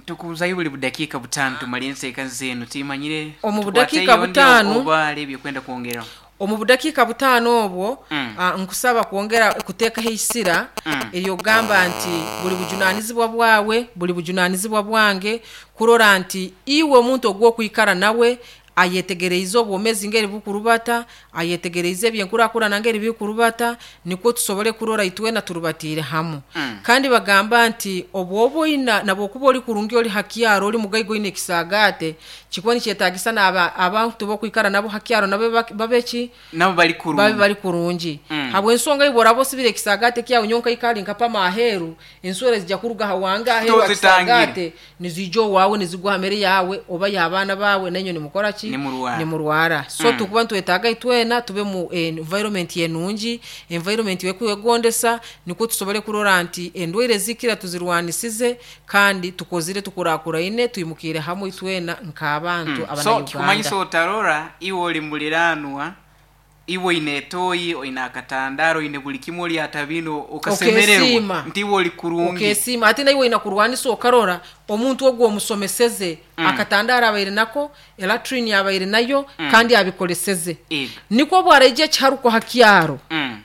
Tukuzayo buli budakiika butaano tumale enseeka zenu timanyire. Omu tukwate budakiika yondi butaano. Oba ali ebyokwenda kwongeraho. Omu budakiika butaano obwo, Mm. ah, nkusaba kwongera kuteekaho eisira Mm. eryogamba nti buli bujunanizibwa bwawe, buli bujunanizibwa bwange kurora nti iwe omuntu ogw'okwikara nawe ayetegereize obwomezi ngeri bukurubata, ayetegereize ebyenkurakurana ngeri bikurubata, nikwo tusobole kurora itwena turubatiire hamu. Mm. Kandi bagamba nti obwoba oina nabwokuba oli kurungi, oli hakyaro, oli mugaiga, oine ekisagate, kikuba nikyetagisa n'aba abantu bokwikara nabo hakyaro nabo bak- babe ki? Nabo bali Babe kurungi. bali kurungi. Mm. Habwensonga iwe oraba osibire ekisagate kyawe nyonka ikali nkapama aheru, enswera zijja kuruga hawange aheru Tozitangire. akisagate nizija owaawe, nizigwa hamere yawe oba y'abaana baawe, nenyo nimukora ki? Nimurwara. Nimurwara. So Mm. tukuba nitwetaaga itwena tube mu environment enungi, environment yekwegondesa, nikwo tusobole kurora nti endwaire zikira tuzirwanisize kandi tukozire tukurakuraine, twimukire hamwe itwena nk'abantu Mm. So abanauganda. kikumanyisa otarora iwe oli muliranwa. Iwe oine etoyi, oine akatandaro, oine buli kimwe, oli atabino okasemererwa Okesiima. nti iwe oli kurungi. Okesiima. Ate naiwe oina kurwanisa okarora omuntu ogwo omusomeseze, Mm. akatandaro abaire nako, elatrini abaire nayo, kandi abikoleseze. Ego. Nikwo bwaraija ekiharuko ha kyaro, Mm.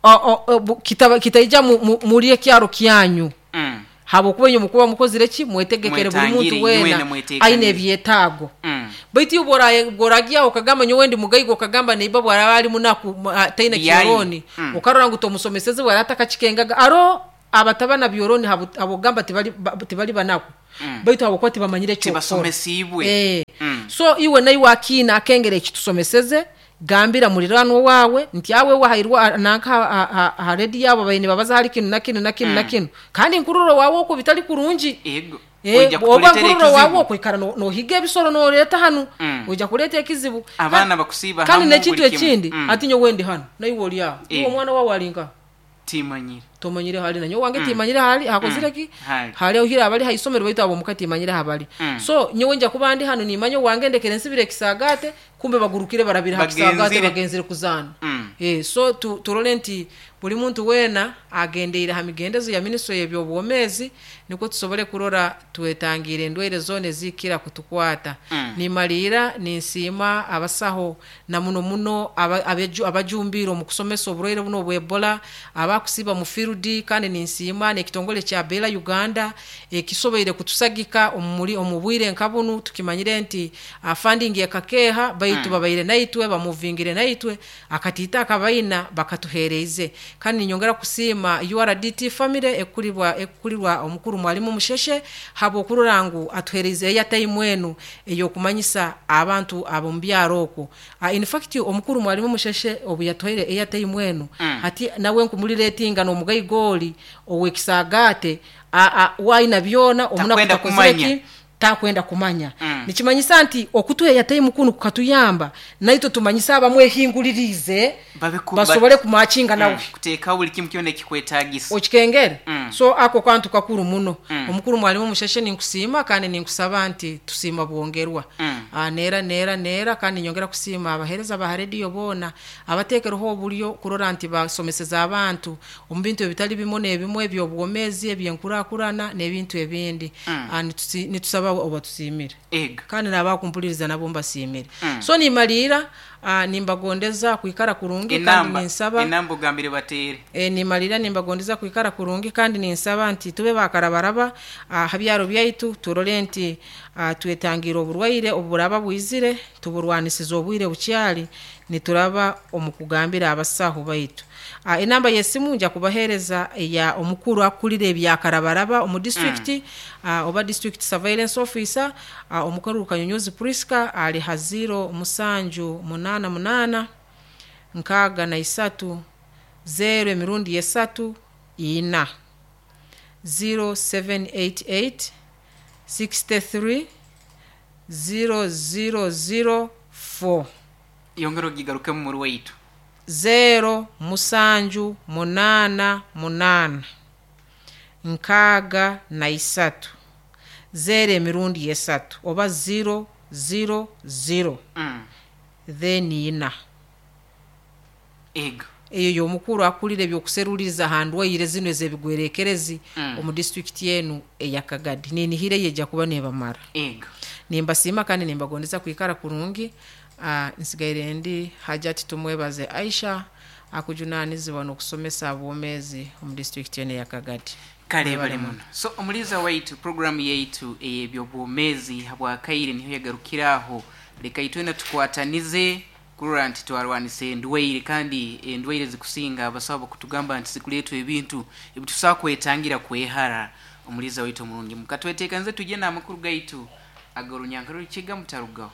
o- o- o- bu- kitaba- kitaija mu- mu- muri ekyaro kyanyu, Mm. habwokuba inywe mukuba mukozire ki, mwetegekere buli muntu Mwetangire, weena inywena mwetekanire. aine ebyetaago. Mm. Baitu iwe bw'oraye- bw'oragiaho okagamba nyowe ndi mugaiga, okagamba neiba bwaraba ali munaku, mu- a- taine Yayi. kyoroni, Mm. okarora ngu tomusomeseze, bwara atakakikengaga aro abatabana byoroni habu- habwogamba tibali ba- tibali banaku, Mm. baitu habwokuba tibamanyire ekyokukora. Tibasomesiibwe. Eh. Mm. So iwe naiwe akiina akengera ekitusomeseze, gambira muliranwa wawe nti awe wahairwa nanka ha- ha- ha redi yabo baine babaza hali kinu na kinu na kinu na kinu, kandi nkururo wawe okwo bitali kurungi. Ego. Eh, Oija oba kutuleetera nkururo wawe ekizibu. okwikara no- nohiga ebisoro noreeta hanu, Mm. oija kuleeta ekizibu. Abaana Kandi- bakusiiba kandi hamu n'ekintu buli kimu. ekindi, Mm. ati nyowe ndi hano naiwe oli aho, iwe Eh. omwana wawe alinka Timanyire. tomanyire hali, nanyowe wange timanyire hali hakozire ki, Hali. hali ohira abali haisomero, baitu abo muka timanyire habali. Mm. So nyowe nja kuba ndi hano nimanya wange ndekere nsibire ekisagate, kumbe bagurukire barabire ha kisagate, Bagenzire. bagenzire kuzaana. Mm. Eh, so tu, turole nti buli muntu weena agendeire ha migendezo ya minisitule y'ebyobwomeezi, nikwo tusobole kurora twetangiire endwaire zoona ezikira kutukwata. Mm. Nimaliira ninsiima abasaho na muno muno aba- abeju- abajumbiire omu kusomesa oburwaire buno obwa Ebola, abakusiiba mu field, kandi ninsiima n'ekitongole kya Bela Uganda ekisoboire kutusagika omu muri- omu bwire nka bunu. Tukimanyire nti ah, funding ekakeeha, baitu babaire naitwe, bamuvingire naitwe akatiita akabaina bakatuhereize. Kandi ninyongera kusiima U R D T family ekulirwa, ekulirwa omukuru mwalimu Musheshe, habwokurora ngu atuhereize airtime enu ey'okumanyisa abantu ab'omu byaro okwo. Ah, in fact omukuru mwalimu Musheshe obu yatuhaire airtime enu, Mm. hati nawe nkumuliretinga n'omugaiga oli ow'ekisagaate, a-, a-, waina byona omunaku Takwenda takozire kumanya. ki, takwenda kumanya. Mm. Nikimanyisa nti okutuha airtime kunu kukatuyamba naitwe tumanyisa abamwehingulirize Babe ku- basobole kumakinga nawe. Mm. Kuteekawo buli kimu kyona ekikwetaagisa. Okikengere. Mm. So ako kantu kakuru muno. Mm. Omukuru mwalimu Musheshe ninkusiima kandi ninkusaba nti tusiima bwongerwa. Mm. Ah, neera neera neera, kandi nyongera kusiima abaheereza ba rediyo boona abateekereho oburyo kurora nti basomeseza abantu omu bintu ebitali bimwe n'ebimwe eby'obwomeezi, ebyenkurakurana n'ebintu ebindi. Mm. Ah, nitusi-, nitusaba obatusiimire. Ego. Kandi n'abakumpuliriza nabo mbasiimire. Mm. So nimaliira, ah, nimbagondeza kwikara kurungi, kandi Enamba, ninsaba enamba ogambire bateere. E, nimalira nimbagondeza kwikara kurungi, kandi ninsaba nti tube bakarabaraba, ah, ha byaro byaitu, turole nti, ah, twetangira oburwaire oburaba bwizire, tuburwanisize obwire bukyali, nituraba omu kugambira abasaho baitu. Ah, enamba y'esimu nja kubaheereza ya omukuru akulira ebyakarabaraba omu district, Mm. ah, oba district surveillance officer, ah, omukuru Kanyonyozi Priska, ali ha zero musanju munana munana nkaaga na isatu zero emirundi esatu ina, zero seven eight eight sixty three zero zero zero four. Yongera ogigarukemu muri waitu. Zero musanju munana munana nkaaga na isatu zero emirundi esatu oba zero zero zero. Mm. Then ina. Ego. Eyo y'omukuru akulira ebyokuseruliza ha ndwaire zino ez'ebigwerekerezi Mm. omu district enu eya Kagadi. Ninihire yejja kuba nebamara. Ego. Nimbasiima kandi nimbagondeza kwikara kurungi. Ah, nsigaire ndi Hajati Tumwebaze Aisha, akujunanizibwa n'okusomesa abwomeezi omu district enu eya Kagadi. Kale bale muno. So omuliza waitu program yaitu ey'ebyobwomeezi habwakaire niho yagarukiraho. Leka itwena tukwatanize kurora nti twarwanisa endwaire, kandi endwaire zikusinga abasawo bakutugamba nti zikuleetwa ebintu ebitusobola kwetangira kwehara. Omuliza waitu omurungi mukatweteekanize tujye n'amakuru gaitu ag'orunyankore rukiga mutarugaho.